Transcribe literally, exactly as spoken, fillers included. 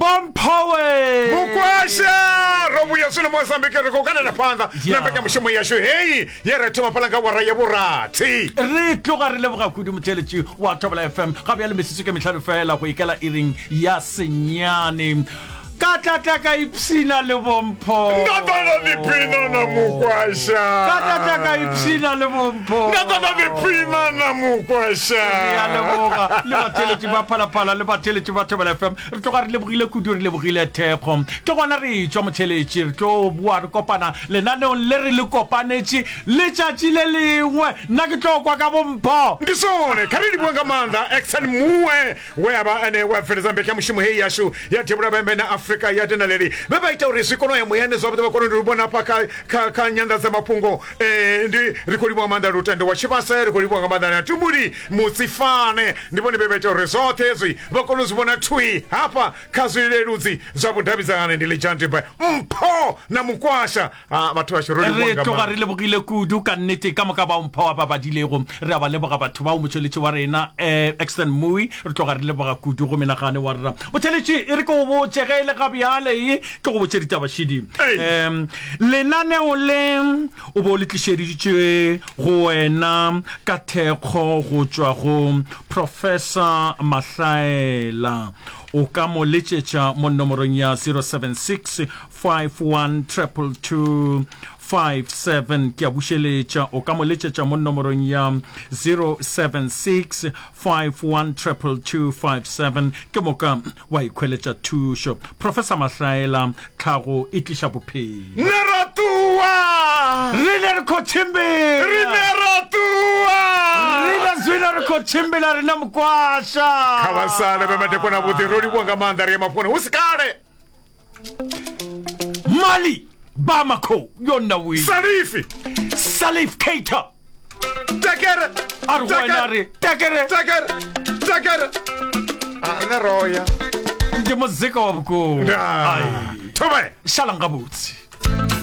Bomphowe Mukwasha ro vhuya zwino Mozambique, ri khou kanela phanḓa na mbekanyamushumo yashu heyi ye ra thoma fhaḽa nga wara ya vhurathi. Re tloga re leboga kudu motheletši wa Thobela F M. Ga bjale metsotso ke mehlano fela go ikela iring ya senyane. Ka tla tla ka ipshina le bompho. Nda ḓa nda ḓiphina na Mukwasha. Ka tla tla ka ipshina le bompho. Nda ḓa nda ḓiphina na Mukwasha. Re a leboga le batheletši ba Phalaphala le batheletši ba Thobela F M. Re tloga re lebogile kudu, re lebogile thekgo. Ke gona re etšwa motheletši, re tlo boa re kopana lenaneong le re le kopanetše letšatši le lengwe. Nna ke tlo kwa ka bompho. Ndi zwone, kha ri livhuwe nga maanḓa Exen Muwe we a vha ene we a bveledza mbekanyamushumo heyi yashu ya Devhula Vhembe na Afrika ya Dinaleli, vhe vha ita uri zwi kone u ya muyani zwavhuḓi, vha kone u vhona hafha kha, kha, kha nyanḓadzamafhungo. Eh, ndi ri khou livhuwa nga maanḓa Lutendo wa Tshivhase, ri khou livhuwa nga maanḓa na Tumuli Mutsifane, ndi vhone vhe vha ita uri zwoṱhe hezwi vha kone u zwi vhona thwi hafha kha zwileludzi zwa vhudavhidzani. Ndi Lidzhanti Mpho na Mukwasha. Ah, batho bashu ro livhuwa Re nga tloga maanḓa. re lebogile kudu ka nnete ka moka bao mpho ba badilego. Re a ba leboga batho bao, motšweletši wa rena eh, Exton Mui, re tloga re leboga kudu go menagane wa rena. Motšweletši, e re ke go botše ge e le ga bjale, e ke go botše ditabašidi. Ei. Um, lenaneo le o bo le tlišeditšwe go wena ka thekgo go tšwa go Professor Mahlaela. O ka mo letšetša mo nomorong ya zero seven six five one triple two five seven. Ke a bušeletša, o ka mo letšetša mo nomorong ya zero seven six five one triple two five seven. Ke moka wa ikhweletša thušo. Professor Mahlaela, tlhago e tliša bophelo. Ne ra ṱuwa. Rine re khou tshimbila. Rine ra ṱuwa. Rine zwino re khou tshimbila rine Mukwasha. Kha vha sale vhe madekwana vhuḓi, ro livhuwa nga maanḓa, ri ya mafhungoni hu si kale. Mali Bamako yona wi. Salifi. Salif Keita. Tekere. A re go wena a re tekere. Tekere. Tekere. A ne roya. Ndi muzika wa vhukuma. Ndaa. Ai. Thome. Šalang gabotse.